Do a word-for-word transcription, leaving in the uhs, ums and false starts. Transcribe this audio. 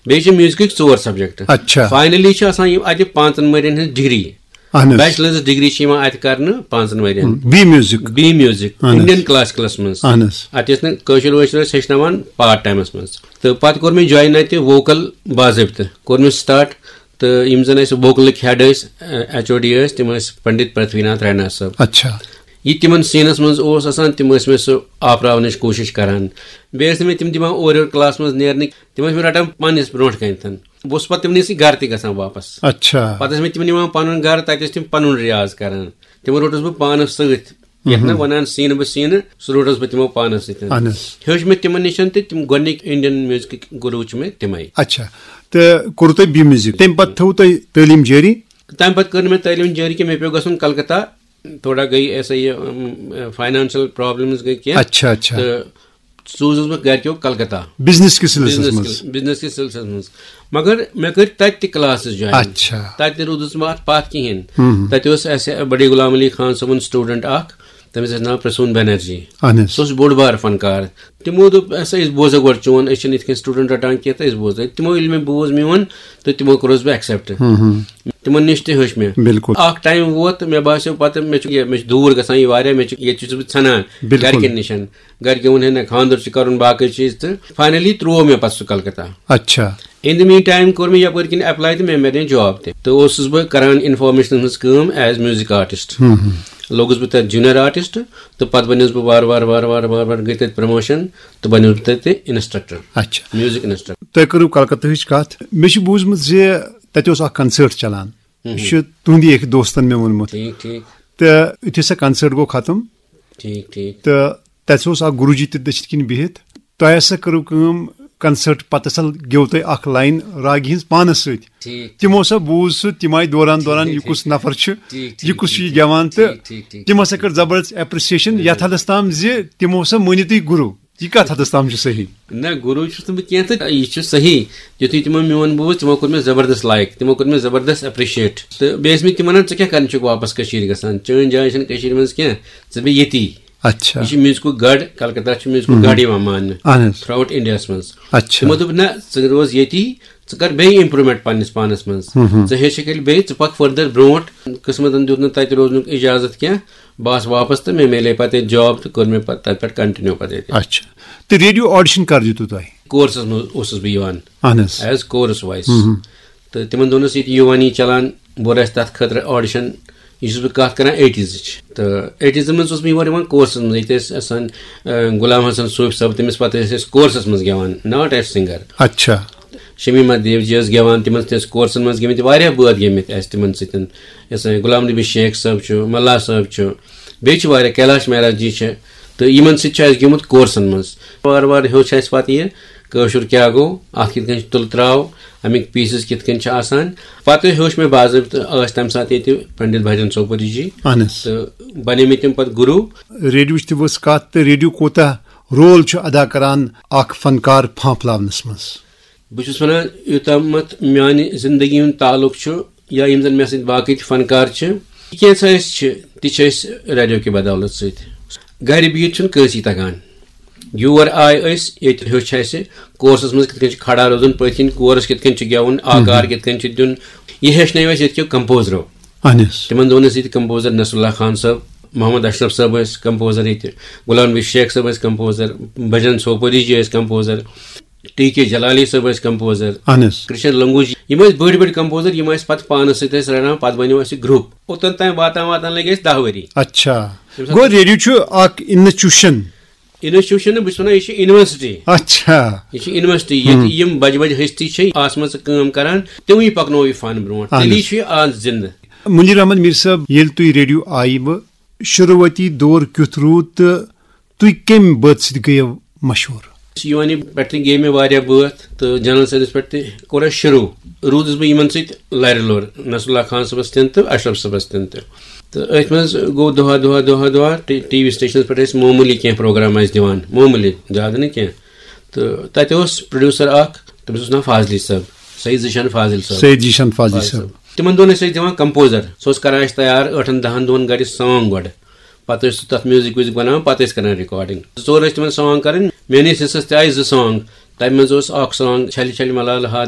بیٚیہِ چھِ میوٗزکٕکۍ ژور سبجیکٹ۔ اچھا۔ فاینلی چھِ آسان یِم اتہِ پانٛژن ؤرین ہٕنٛز ڈگری۔ اہن حظ۔ بیچلرز ڈگری چھِ یِوان اتہِ کرنہٕ پانٛژن ؤرین۔ B music. بی میوٗزک، اہن حظ۔ انڈین کلاسیکلس منٛز۔ اہن حظ۔ اتہِ ٲسۍ نہٕ کٲشُر وٲشُر ٲسۍ ہیٚچھناوان پارٹ ٹایمس منٛز۔ تہٕ پتہٕ کوٚر مےٚ جوین اتہِ ووکل باضٲبطہٕ، کوٚر مےٚ سٹارٹ۔ تہٕ یِم زن اَسہِ ووکلٕکۍ ہیڈ ٲسۍ، ایچ او ڈی ٲسۍ، تِم ٲسۍ پنڈت پرتھوی ناتھ رینا صٲب۔ اچھا۔ یہِ تِمن سینس منٛز اوس آسان، تِم ٲسۍ مےٚ سُہ آپراونٕچ کوٗشش کران۔ بیٚیہِ ٲسۍ نہٕ مےٚ تِم دِوان اورٕ یورٕ کلاس منٛز نیرنٕکۍ، تِم ٲسۍ مےٚ رٹان پننِس برونٛٹھ کنہِ۔ بہٕ اوسُس پتہٕ تِمنٕے سۭتۍ گرٕ تہِ گژھان واپس۔ اچھا۔ پتہٕ ٲسۍ مےٚ تِم نِوان پنُن گرٕ، تتہِ ٲسۍ تِم پنُن ریاض کران۔ تِمن روٚٹُس بہٕ پانس سۭتۍ۔ یتھ نہٕ ونان سیٖنہٕ بہٕ سیٖنہٕ، سُہ روٚٹُس بہٕ تِمو پانس سۭتۍ۔ اہن حظ۔ ہیوٚچھ مےٚ تِمن نِش تہٕ تِم گۄڈٕنِکۍ انڈین میوٗزکٕکۍ گُروٗ چھِ مےٚ تِمے۔ اچھا۔ تہٕ کوٚرُو تۄہہِ بی میوٗزک، تمہِ پتہٕ تھٲووٕ تۄہہِ تعلیٖم جٲری؟ تمہِ پتہٕ کٔر نہٕ مےٚ تعلیٖم جٲری کینٛہہ، مےٚ پیوٚو گژھُن کلکتہ۔ تھوڑا گٔے ایسا یہِ، ام، فاینانشل پرابلمز گٔے کینٛہہ۔ اچھا، اچھا۔ تہٕ سوٗزُس بہٕ گرِکیو کلکتہ۔ بزنس کِس سلسلس بزنس منٛز؟ کِس، بزنس کِس سلسلس منٛز۔ مگر مےٚ کٔرۍ تتہِ تہِ کلاسز جوین۔ اچھا۔ تتہِ تہِ روٗدُس نہٕ بہٕ اتھ پتھ کہیٖنۍ۔ ہم۔ تتہِ اوس اسہِ بڑی غلام علی خان صٲبُن سٹوڈنٹ اکھ، تٔمِس ٲسۍ ناو پرسون بنرجی۔ اہن حظ۔ سُہ اوس بوٚڑ بار فنکار۔ تِمو دوٚپ، "ہسا، أسۍ بوزو گۄڈٕ چون، أسۍ چھِنہٕ یِتھ کٔنۍ سٹوڈنٹ رٹان کینٛہہ، تہٕ أسۍ بوزو۔" تِمو ییٚلہِ مےٚ بوز میون، تہٕ تِمو کوٚرُس بہٕ ایکسپٹ۔ ہم، ہم۔ تِمن نِش تہِ ہیوٚچھ مےٚ۔ بِلکُل۔ اکھ ٹایم ووت، مےٚ باسیو پتہٕ، مےٚ چھُ یہِ، مےٚ چھُ دوٗر گژھان یہِ واریاہ، مےٚ چھُ، ییٚتہِ چھُس بہٕ ژھٮ۪نان۔ بِلکُل۔ گرِکٮ۪ن نِش۔ گرِکٮ۪و ووٚن، "ہے نہ، خانٛدر چھُ کرُن، باقٕے چیٖز۔" تہٕ فاینلی ترٛوو مےٚ پتہٕ سُہ کلکتہ۔ اچھا۔ In the meantime کوٚر مےٚ یپٲرۍ کِنۍ ایپلاے تہٕ مےٚ میلے جاب تہِ۔ تہٕ اوسُس بہٕ کران انفارمیشنس منٛز کٲم as music artist۔ ہم، ہم۔ لوٚگُس بہٕ تتھ جونیئر آرٹسٹ، تہٕ پتہٕ بنیوس بہٕ وارٕ وارٕ، وارٕ وارٕ، وارٕ وارٕ گٔے تتہِ پروموشن، تہٕ بنیوس بہٕ تتہِ انسٹرکٹر۔ اچھا۔ Music instructor. تۄہہِ کٔرٕو کلکتہٕچ کتھ۔ مےٚ چھُ بوٗزمُت زِ تتہِ اوس اکھ کنسٲرٹ چلان۔ ہم۔ یہِ چھُ تُہنٛدی أکۍ دوستن مےٚ ووٚنمُت۔ ٹھیٖک، ٹھیٖک۔ تہٕ یُتھُے سۄ کنسٲرٹ گوٚو ختم، ٹھیٖک، ٹھیٖک۔ تہٕ تَتہِ اوس اکھ گُروٗجی تہِ دٔچھِنۍ کِنۍ بِہِتھ۔ تۄہہِ ہسا کٔرٕو کٲم، کنسٲرٹ پتہٕ ہسا گیوٚو تۄہہِ اکھ لاین راگہِ ہٕنٛز پانس سۭتۍ۔ ٹھیٖک۔ تِمو ہسا بوٗز سُہ، تِم آیہِ دوران دوران، ٹھیٖک، یہِ ٹھیٖک، کُس ٹھیٖک۔ نفر چھُ، ٹھیٖک، ٹھیٖک، یہِ کُس چھُ ٹھیٖک، یہِ گٮ۪وان، ٹھیٖک، تہٕ ٹھیٖک، ٹھیٖک، تِم ہسا ٹھیٖک۔ کٔر زبردست ایپرِسیشن، بِلکُل۔ یتھ حدس تام زِ تِمو ہسا مٲنِو تُہۍ گُروٗ۔ یہِ کتھ حدس تام چھُ صحیح؟ نہ، گُروٗ چھُس نہٕ بہٕ کینٛہہ، تہٕ یہِ چھُ صحیح۔ یُتھُے تِمو میون بوٗز، تِمو کوٚر مےٚ زبردست لایک، تِمو کوٚر مےٚ زبردست ایپرِشیٹ۔ تہٕ بیٚیہِ ٲسۍ مےٚ تِم ونان، "ژٕ کیٛاہ کرنہِ چھُکھ واپس کٔشیٖرِ گژھان؟ چٲنۍ جاے چھَنہٕ کٔشیٖرِ منٛز کینٛہہ، ژٕ بیٚہہ ییٚتی۔" اچھا۔ یہِ چھُ میوٗزکُک گڑھ، کلکتہ چھُ میوٗزکُک ہم۔ گڑھ یِوان ماننہٕ اہن حظ۔ تھرٛوٗ آوُٹ انڈیاہس منٛز۔ اچھا۔ تِمو دوٚپ، "نہ، ژٕ روز ییٚتی، ژٕ کر بیٚیہِ امپروٗومینٹ پننِس پانس منٛز۔ ہم۔ ژٕ ہیٚچھکھ ییٚلہِ بیٚیہِ، ژٕ پکھ فردر برونٛٹھ۔" قٕسمتن دیُت نہٕ تتہِ روزنُک اجازت کینٛہہ۔ بہٕ آس واپس تہٕ مےٚ میلے پتہٕ ییٚتہِ جاب تہٕ کوٚر مےٚ پتہٕ تتہِ پٮ۪ٹھ کنٹِنیو پتہٕ ییٚتہِ۔ اچھا۔ تہٕ ریڈیو آڈیشن کر دیُتوٕ تۄہہِ؟ کورسس منٛز اوسُس بہٕ یِوان۔ اہن حظ۔ ایز کورس وایز۔ ہم۔ تہٕ تِمن دۄہن ٲس ییٚتہِ یوٗوانی چلان، بہٕ اوسُس تتھ خٲطرٕ آڈیشن، یہِ چھُس بہٕ کتھ کران ایٹیٖزٕچ۔ تہٕ ایٹیٖزن منٛز اوسُس بہٕ یور یِوان کورسس منٛز، ییٚتہِ ٲسۍ آسان، آ، غلام حسن صوفی صٲب، تٔمِس پتہٕ ٲسۍ أسۍ کورسس منٛز گٮ۪وان، ناٹ ایز سِنگر۔ اچھا۔ شمیٖم احمد دیو جی ٲس گٮ۪وان، تِمن سۭتۍ ٲسۍ کورسن منٛز گٔمٕتۍ، واریاہ بٲتھ گٔمٕتۍ اَسہِ تِمن سۭتۍ۔ یہِ ہسا غلام نبی شیخ صٲب چھُ، ملا صٲب چھُ، بیٚیہِ چھِ واریاہ، کیلاش مہراج جی چھِ، تہٕ یِمن سۭتۍ چھُ اَسہِ گیوٚمُت کورسن منٛز۔ وارٕ وارٕ ہیوٚچھ اَسہِ پتہٕ یہِ کٲشُر کیٛاہ گوٚو، اَتھ کِتھ کٔنۍ چھُ تُلہٕ تراو، اَمِکۍ پیٖسز کِتھ کٔنۍ چھِ آسان۔ پتہٕ ہیوٚچھ مےٚ باضٲبطہٕ، ٲسۍ تَمہِ ساتہٕ ییٚتہِ پنڈت بھجن سوپوری جی۔ اہن حظ۔ تہٕ بنے مےٚ تِم پتہٕ گُروٗ۔ ریڈیوچ تہِ ؤژھ کتھ، تہٕ ریڈیو کوٗتاہ رول چھُ ادا کران اکھ فنکار پھانپھلاونس منٛز؟ بہٕ چھُس وَنان، یوٚتامَتھ میٛانہِ زِندگی ہُنٛد تعلُق چھُ یا یِم زَن مےٚ سۭتۍ باقٕے تہِ فنکار چھِ، کینٛژھا أسۍ چھِ، تہِ چھِ أسۍ ریڈیو کہِ بدولت سۭتۍ۔ گَرِ بِہِتھ چھُنہٕ کٲنٛسی تَگان۔ یور آے أسۍ، ییٚتہِ ہیوٚچھ اَسہِ کورسَس منٛز کِتھ کٔنۍ چھُ کھڑا روزُن، پٔتھۍ کِنۍ کورس کِتھ کٔنۍ چھُ گٮ۪وُن، آکار کِتھ کٔنۍ چھُ دیُن، یہِ ہیٚچھنٲو اَسہِ ییٚتہِ کیو کمپوزرو۔ اہن حظ۔ تِمن دۄہن ٲسۍ ییٚتہِ کمپوزر نصراللہ خان صٲب، محمد اشرف صٲب ٲسۍ کمپوزر ییٚتہِ، غلام نبی شیخ صٲب ٲسۍ کمپوزر، بھجن سوپوری جی ٲسۍ کمپوزر، ٹی کے جلالی صٲب ٲسۍ کمپوزر، اہن حظ۔ کرشن لنگوجی، یِم ٲسۍ بٔڑۍ بٔڑۍ کمپوزر، یِم ٲسۍ پتہٕ پانس سۭتۍ ٲسۍ رلان، پتہٕ بنیو اَسہِ گروپ۔ اوٚتن تام واتان واتان لٔگۍ اَسہِ دَہ ؤری۔ اچھا۔ تَمہِ ساتہٕ گوٚو ریڈیو چھُ اکھ انسٹیٹیوشن۔ انسٹیٹیوشن نہٕ، بہٕ چھُس وَنان، یہِ چھِ یونیورسٹی۔ اچھا۔ یہِ چھِ یونیورسٹی، ییٚتہِ ہم۔ یِم بجہِ بجہِ ہستی چھِ آسمژٕ کٲم کران، تِموٕے پکنوو یہِ فن برونٛٹھ، اہن تیٚلی حظ۔ چھُ یہِ آز زندٕ۔ منیر احمد میر صٲب، ییٚلہِ تُہۍ ریڈیو آیوٕ، شروٗعٲتی دور کیُتھ روٗد تہٕ تُہۍ کَمہِ بٲتھ سۭتۍ گٔیو مشہوٗر؟ یوٗوانی پٮ۪ٹھ تہِ گٔے مےٚ واریاہ بٲتھ تہٕ جنرل سروس پٮ۪ٹھ تہِ کوٚر اَسہِ شروٗع۔ روٗدُس بہٕ یِمن سۭتۍ لرِ لوٚر، نصراللہ خان صٲبس تہِ تہٕ اشرف صٲبس تہِ تہٕ۔ تہٕ أتھۍ منٛز گوٚو دۄہا دۄہا دۄہا دۄہا ٹی-، ٹی وی سٹیشنس پٮ۪ٹھ ٲسۍ معموٗلی کینٛہہ پروگرام اَسہِ دِوان، معموٗلی، زیادٕ نہٕ کینٛہہ۔ تہٕ تَتہِ اوس پروڈیوسر اکھ، تٔمِس اوس ناو فاضلی صٲب، سید ذیشان فاضل صٲب۔ سید ذیشان فاضل صٲب۔ تِمن دۄہن ٲسۍ أسۍ دِوان کمپوزر، سُہ اوس کران اَسہِ تیار ٲٹھن دَہن دۄہن گرِ سانگ گۄڈٕ۔ پتہٕ ٲسۍ سُہ تتھ میوٗزک ویوٗزک بناوان، پتہٕ ٲسۍ کران ریکارڈنگ۔ زٕ ژور ٲسۍ تِمن سانگ کرٕنۍ۔ میٲنِس حصس تہِ آیہِ زٕ سانگ۔ تَمہِ منٛز اوس اکھ سانگ چھلہِ چھلہِ ملالہٕ ہا